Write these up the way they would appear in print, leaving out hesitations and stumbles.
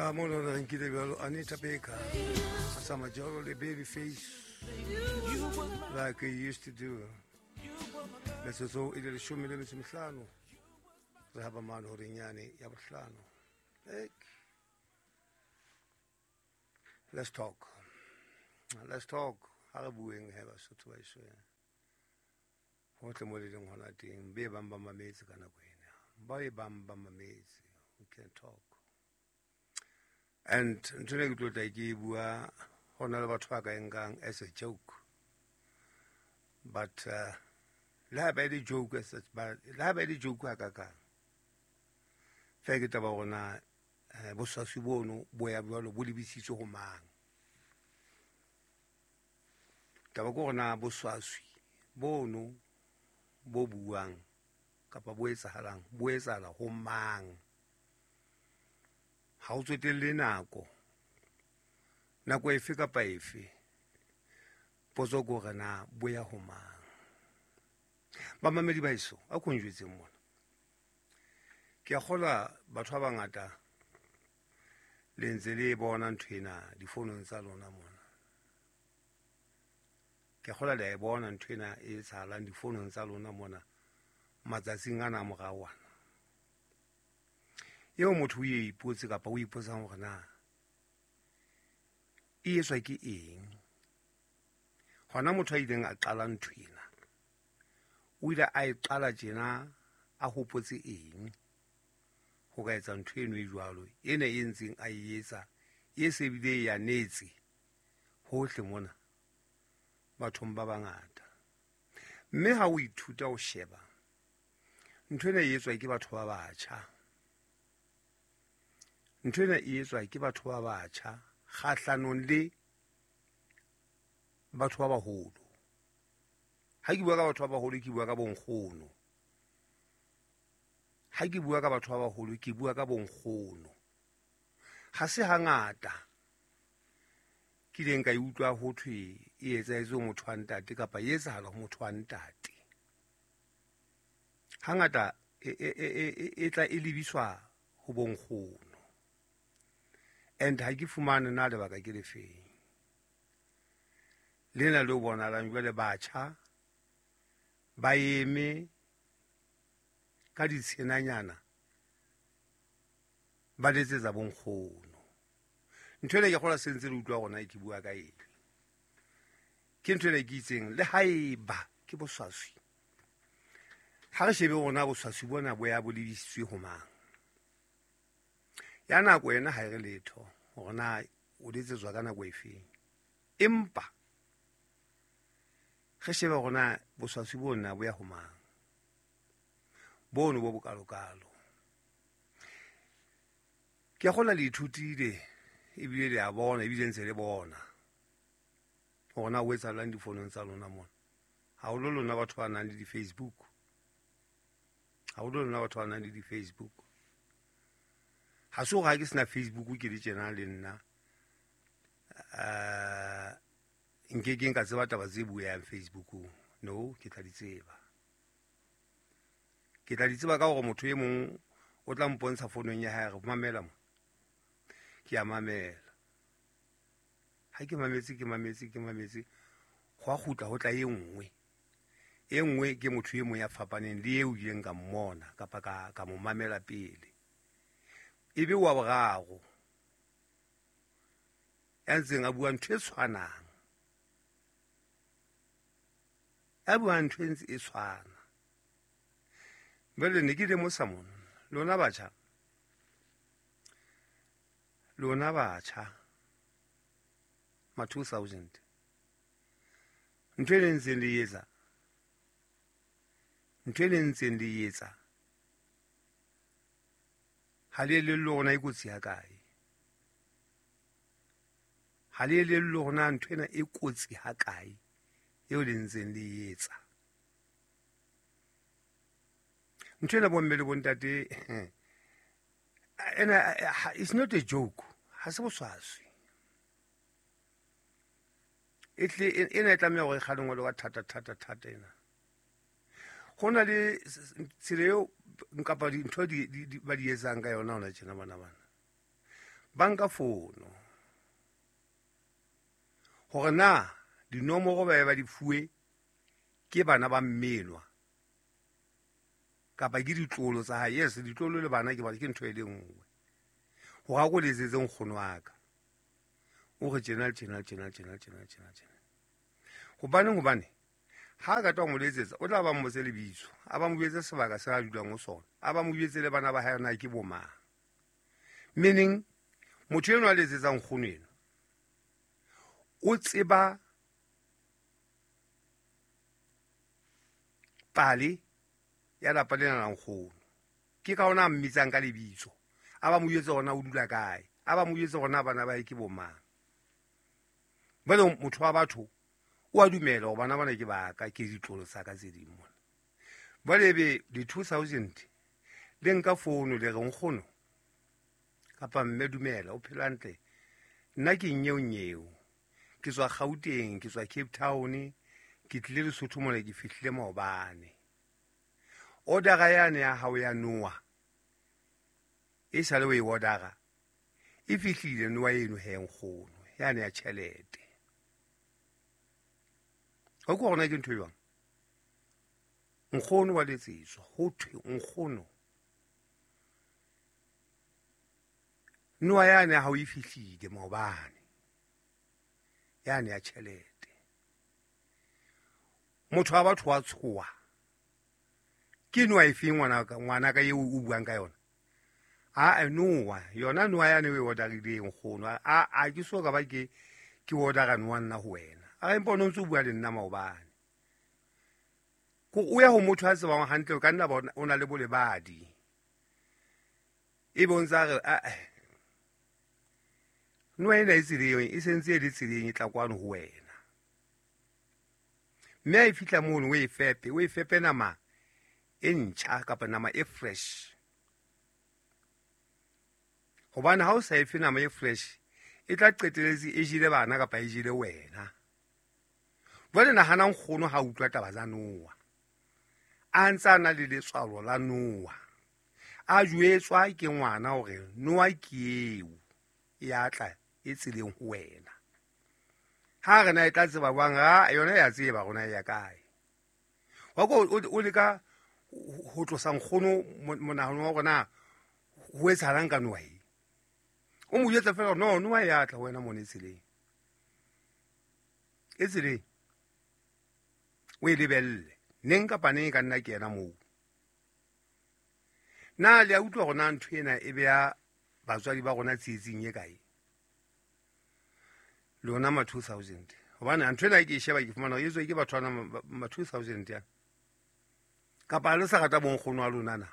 A mo lona nkile bjalo Anita Baker a sa majolo le baby face like he used to do. Metsotso e le 15 re haba mane horeng yane ya bohlano. Let's talk. Let's talk. Ha re bueng he Basotho ba eso. Hohle mo le leng hona teng, be bang ba mametse ka nako ena. Ba e bang ba mametse. We can talk. And ntho ena ke tlo tla ke e bua ho na le batho ba ka e nkang as a joke. But le ha ba e le joke as such, but le ha ba e le joke ha kakang. Feela ke taba hore na boswaswi bono bo ya jwalo bo lebisitswe ho mang. Taba ke hore na boswaswi bono bo buang kapa bo etsahalang, bo etsahala ho mang. Ha o tsotelle nako, nako efe kapa efe, potso ke hore na bo ya ho mang. Bamamedi ba heso, a ko njwetseng mona. Ke a kgolwa batho ba bangata le ntse le e bona ntho ena difounong tsa lona mona. Ke a kgolwa le a e bona ntho ena e etsahalang difounong tsa lona mona matsatsing ana a morao ana. Eo motho o e ipotse kapa o ipotsang hore na e etswa ke eng. Hona motho a ileng a qala ntho ena, o ile a e qala tjena a hopotse eng ho ka etsa ntho eno e jwalo, ena e ntseng a e etsa, e se bile e anetse hohle mona bathong ba bangata. Mme ha o ithuta ho sheba, ntho ena e etswa ke batho ba batjha. Ntho ena e etswa ke batho ba batjha kgahlanong le batho ba baholo. Ha ke bua ka batho ba baholo, ke bua ka bonkgono. Ha ke bua ka batho ba baholo, ke bua ka bonkgono. Ha se hangata ke ileng ka e utlwa ho thwe e etsahetse ho motho wa ntate kapa e etsahala ho motho wa ntate. Hangata e tla e lebiswa ho bonkgono. And ha ke fumane na lebaka ke lefeng. Lena le bonahalang jwale batjha ba eme ka ditshenanyana ba letsetsa bonkgono. Ntho ena ke kgolwa se ntse le utlwa hore na ke bua ka eng. Ke ntho ena ke itseng le haeba ke boswaswi. Ha re shebe hore na boswaswi bona bo ya bo lebisitswe ho mang. Ya nako ena ha e re letho hore na o letsetswa ka nako efeng. Empa re shebe hore na boswaswi bona bo ya ho mang. Bono bo bokalokalo. Ke a kgolwa le ithutile ebile le a bona ebile ntse le bona hore na ho etsahalang difonong tsa lona mona. Haholo lona batho ba nang le di-Facebook. Haholo lona batho ba nang le di-Facebook. Ha se hore ha ke sena Facebook ke le tjena le nna, nke ke nka tseba taba tse bueang Facebookong. No, ke tla di tseba. Ke tla di tseba ka hore motho e mong o tla mpontsha founong ya hae, re mamela mo. Ke a mamela. Ha ke mametse, ke mametse, ke mametse, ho a kgutla ho tla e nngwe. E nngwe ke motho e mong ya fapaneng le eo ileng ka mmona kapa ka mo mamela pele. Ebe wa boraro ya ntseng a bua ntho e tshwanang. Ya bua ntho e ntse e tshwana. Jwale ne ke lemosa mona, lona batjha, lona batjha ma 2000, ntho e le ntseng le etsa, ntho e le ntseng le etsa, ha le elellwe hore na e kotsi ha kae. Ha le elellwe hore na ntho ena e kotsi ha kae eo le ntseng le etsa. Ntho ena bomme le bontate, ena, it's not a joke. Ha se boswaswi. E tle, ena e tlameha hore e kgalengwe le ka thata, thata, thata ena. Ho na le tsela eo kapa dintho ba di etsang ka yona hona tjena bana bana. Ba nka fono hore na dinomoro ba ba di fuwe ke bana ba mmelwa kapa ke ditlolo tsa hae. Yes, ditlolo le bana ke ba ke ntho e le nngwe. Hore a ko letsetse nkgono wa ka, o re tjena tjena tjena tjena tjena tjena tjena. Hobane ha ka tla mo letsetsa, o tla ba mmotse lebitso, a ba mo jwetse sebaka se a dulang ho sona, a ba mo jwetse le bana ba hae na ke bomang. Meaning motho enwa a letsetsang nkgono eno o tseba pale ya lapa lena la nkgono. Ke ka hona a mmitsang ka lebitso, a ba mo jwetse hore na o dula kae, a ba mo jwetse hore na bana ba hae ke bomang. Jwale motho wa batho o a dumela hore bana bana ke ba ka, ke ditlolo tsa ka tse ding mona. Jwale ebe di-2000 le nka founu le re nkgono kapa mme dumela, o phela hantle, nna ke nyeo nyeo, ke tswa Gauteng, ke tswa Cape Town, ke tlile Lesotho mona, ke fihlile maobane. Order-a yane ya hao ya noa e sale o e order-a, e fihlile noa eno he nkgono, yane ya tjhelete. Ho ke hore na ke ntho e jwang? Nkgono wa letsetswa, ho thwe nkgono noa yane ya hao e fihlile maobane, yane ya tjhelete. Motho wa batho wa tshoha, ke noa e feng ngwana ka eo o buang ka yona? A noa yona noa yane o e order-ileng nkgono, a ke so ka ba ke order-a noa nna ho wena. A re empa o no ntso bua le nna maobane. Ko o ya ho motho a tsebang hantle, o ka nna ba o na le bolebadi. E be o ntsa re a noa ena e tseleng, e sentse e le tseleng e tla kwano ho wena. Mme ha e fihla mono o e fepe, o e fepe nama e ntjha kapa nama e fresh. Hobane ha o sa efe nama e fresh, e tla qeteletse e jele bana kapa e jele wena. Jwale nahana nkgono ha utlwa taba tsa noa, a ntse a na le letswalo la noa, a jwetswa ke ngwana hore noa ke eo e a tla e tseleng ho wena. Ha re na e tla tseba jwang? A yona ya tseba rona e ya kae. Wa ko o leka ho tlosa nkgono monahano wa rona ho etsahalang ka noa e. O mo jwetsa fela no noa e a tla ho wena mona e tseleng. E tseleng. O e lebelle. Neng kapa neng e ka nna ke yena moo. Na le a utlwa hore na ntho ena e beha batswadi ba rona tsietsing e kae? Lona ma 2000. Hobane ntho ena ke e sheba ke fumana hore e tswe ke batho bana ma 2000 ya. Kapa le sa rata bonkgono wa lona na?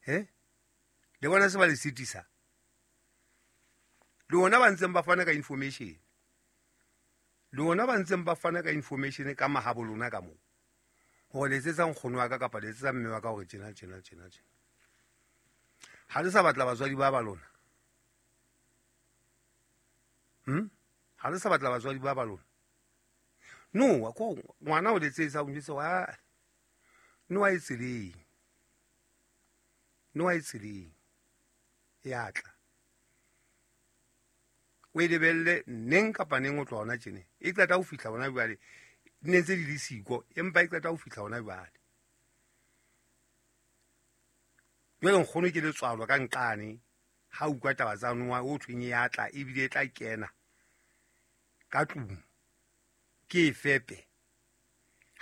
He? Le bona se ba le sitisa? Le bona ba ntseng ba fana ka information. Le bona ba ntseng ba fana ka information ka mahabo lona ka moo. Hore letsetsa nkgono wa ka kapa letsetsa mme wa ka hore tjena tjena tjena tjena. Ha le sa batla batswadi ba ba lona. Ha le sa batla batswadi ba ba lona. Noa ko ngwana o letsetsa o njwetsa wa noa e tseleng. Noa e tseleng. E a tla. O e lebelle neng kapa neng o tloha hona tjene. E qeta ho fihla hona jwale. Ne ntse di le siko, empa e qeta ho fihla hona jwale. Jwale nkgono ke letswalo ka nqane ha utlwa taba tsa noa o thweng e a tla ebile e tla kena ka tlung. Ke e fepe.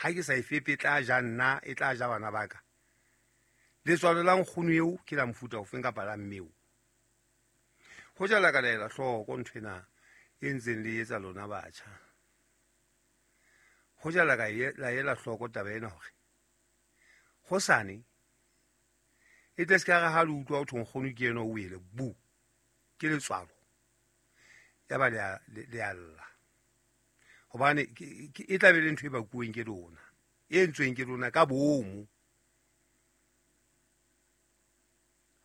Ha ke sa e fepe e tla ja nna, e tla ja bana ba ka. Letswalo la nkgono eo ke la mofuta ofeng kapa la mme eo? Ho jala ka laela hloko ntho ena e ntseng le etsa lona batjha. Ho jala ka la ela hloko taba ena hore hosane e tle se ka re ha le utlwa ho thwe nkgono ke ena o wele bu, ke letswalo. Ya ba le a lla. Hobane e tla be le ntho e bakuweng ke lona, e entsweng ke lona ka boomo.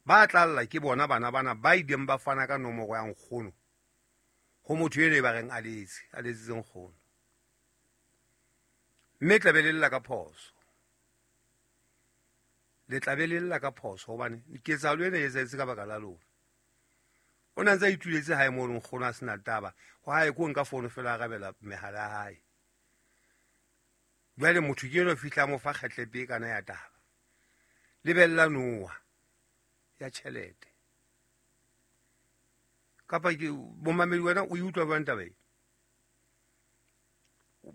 Ba tla lla ke bona bana bana ba ileng ba fana ka nomoro ya nkgono ho motho eno e ba reng a letse, a letsitse nkgono. Mme tla be le lla ka phoso. Le tla be le lla ka phoso hobane ketsahalo ena e etsahetse ka baka la lona. O ne a ntse a ituletse hae mo nkgono a sena taba. Ho hae ko nka fono fela a rabela mehala ya hae. Jwale motho ke eno fihla mo fa kgetlepe e kana ya taba. Lebella noa ya tjhelete. Kapa ke momamedi wena o e utlwa jwang taba e?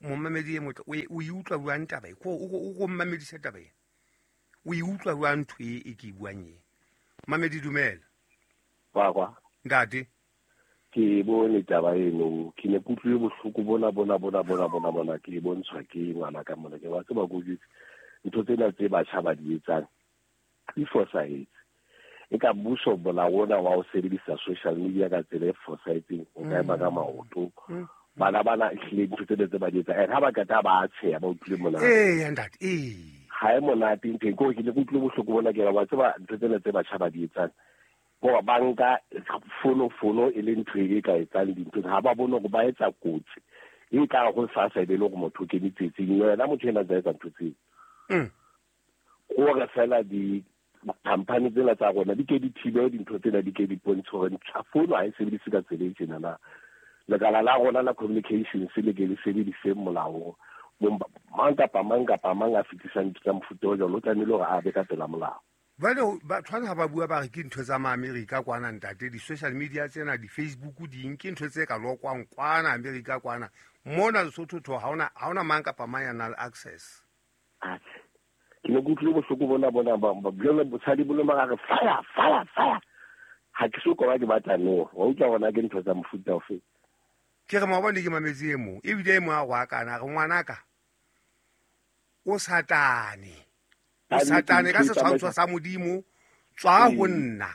Momamedi e motle o e utlwa jwang taba e? O ko mmamedisa taba e. O e utlwa jwang ntho e ke e buang e? Mamedi dumela. Kwa. Ntate. Ke bone taba eno, ke ne ke utlwile bohloko bona ke bontshwa ke ngwana ka mona ke wa tseba go jwetse ntho tsena tse batjha ba di etsang di fosahetse. E ka mmuso molao ona wa ho sebedisa social media ka tsela e fosahetseng o ka ema ka maoto. Bana bana ehlile ntho tsena tse ba di etsang and ha ba qeta ba tsheha ba utlwile monate. Ee ntate, ee. Ha e monate ntho e ke ne ke utlwile bohloko bona ke wa tseba ntho tsena tse batjha ba di etsang. Bo banka fono e le ntho e ka etsang dintho ha ba bone hore ba etsa kotsi e ka go sasa e be le gore motho o kene tsietsing wena motho ena tsa etsa ntho tseo. Gore fela di company tsena tsa rona di ke di thibe dintho tsena di ke di bontshe hore fono ha e sebedise ka tsela e tjena na. Lekala la rona la communications le ke le sebedise molao mang kapa mang kapa mang a fetisang tsa mofuta o jwalo o tlamehile hore a be ka pela molao. Jwale batho ha ba bua ba re ke ntho tsa Maamerika kwana ntate, di-social media tsena, di-Facebook ding, ke ntho tse ka lokwang kwana Amerika kwana. Mona Lesotho tho ha ona mang kapa mang ya nang le access. Atjhe. Ke ne ke utlwile bohloko bona jwale bosadi bo le mara re fire. Ha ke so ka ke batla no. Wa utlwa hona ke ntho tsa mofuta ofe. Ke re maobane ke mametse e mong, ebile e mong a go akana re ngwanaka o satane. O satane ka setshwantsho sa Modimo tswa ho nna.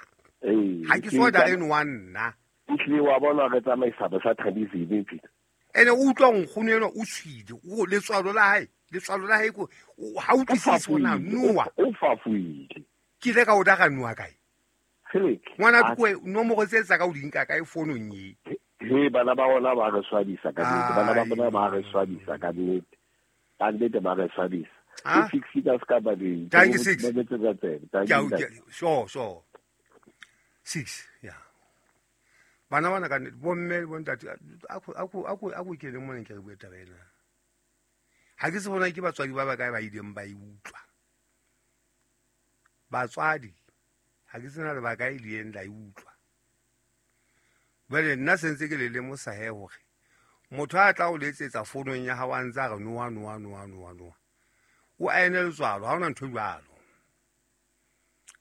Ha ke so dare no wa nna. Ehlile wa bona re tsamaisa ba satanism Peter. Ene o utlwa nkgono eno o tshwile, o letswalo la hae ko ha utlwisise hona noa. O fafuile. Ke ile ka o dara noa kae? Ngwana ko nomoro tse tsa ka o di nka kae fonong e? He bana ba rona ba re swabisa ka nnete. Bana ba rona ba re swabisa ka nnete. Ba nnete ba re swabisa. Six ka ska ba di. Thank you six. Sure. 6 yeah. Bana bana ka bo mme bo ntate a ko ke le mona ke re bue taba ena. Ha ke se bona ke batswadi ba ba kae ba ileng ba e utlwa. Batswadi ha ke sena le ba kae ileng la e utlwa. Jwale nna sentse ke le lemosa he hore motho a tla o letsetsa fonong ya hao a ntse a re noa. O aene letswalo, ha hona ntho e jwalo.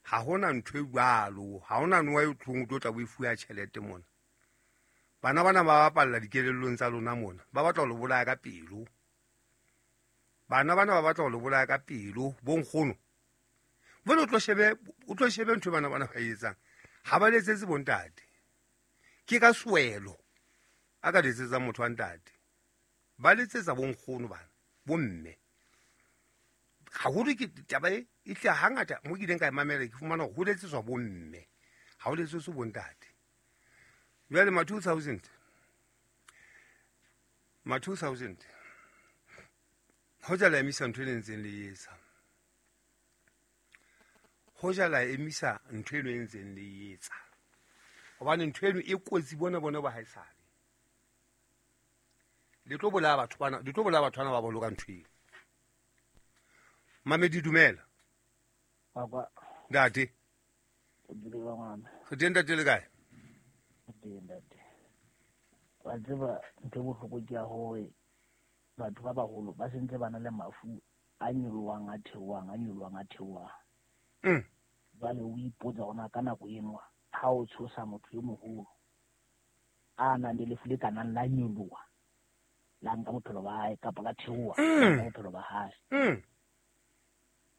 Ha hona ntho e jwalo, ha hona noa e tlong o tlo tla o e fuwa tjhelete mona. Bana bana ba bapalla dikelellong tsa lona mona, ba batla ho le bolaya ka pelo. Bana bana ba batla ho le bolaya ka pelo, bo nkgono. Jwale o tlo shebe ntho bana bana ba e etsang. Ha ba letsetse bo ntate. Ke ka swelo a ka letsetsa motho wa ntate. Ba letsetsa bo nkgono bana, bo mme. Haholo ke taba e tle hangata mo ke ileng ka e mamela ke fumana hore ho letsetswa bo mme, ha ho letsetswe bo ntate. Jwale ma 2000 hoja la emisa ntho e ntseng le etsa. Hoja la emisa ntho eno e ntseng le etsa. Hobane ntho eno e kotsi bona ba haesale. Le tlo bolaya batho bana, le tlo bolaya batho bana ba boloka ntho eo. Mamedi dumela. Papa. Ntate. O dule ba ngwana. Re teng ntate le kae? Teng ntate. Wa tseba ntho e bohloko ke ya hore batho ba baholo ba sentse ba na le mafu a nyolohang a theohang a nyolohang a theohang. Jwale o ipotsa hore ka nako eno ha o tshosa motho e moholo a nang le lefu le ka nang la nyoloha la nka bophelo ba hae kapa la theoha la nka bophelo ba hae.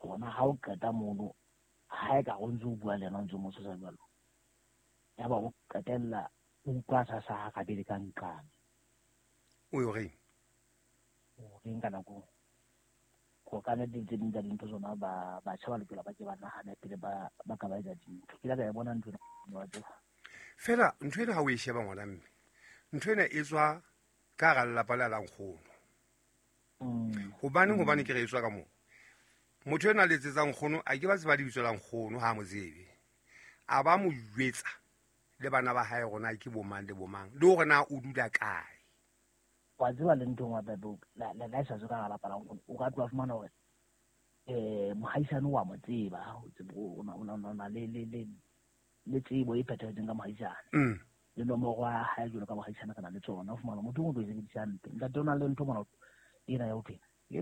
Hona ha o qeta mono ha e ka o ntse o bua le yena o ntse o mo tshosa jwalo, yaba o qetella o utlwa sa sa gabedi ka nqane. O yo reng? O reng ka nako go ka nne tse ding tsa dintho tsona ba batjha ba lokela ba ke ba nahane pele ba ka ba etsa dintho. Ke la ka e bona ntho ena wa tseba. Fela ntho ena ha o e sheba ngwana mme, ntho ena e tswa ka hara lelapa la nkgono. Hobaneng ke re e tswa ka moo? Motho ena a letsetsang nkgono a ke ba tseba lebitso la nkgono ha mo tsebe. A ba mo jwetsa Le bana ba hae rona ke bomang le bomang, le hore na o dula kae. Wa tseba le ntho engwe hape, la e sa tswe ka hara lapa la nkgono, o ka tloha fumana hore mohaisane wa mo tseba, o tseba o na le tsebo e phethahetseng ka mohaisane. Le nomoro ya hae jwalo ka mohaisane re na le tsona. O fumana motho o tlo e sebedisa hampe. Ntate, o na le ntho mona ena ya ho thwe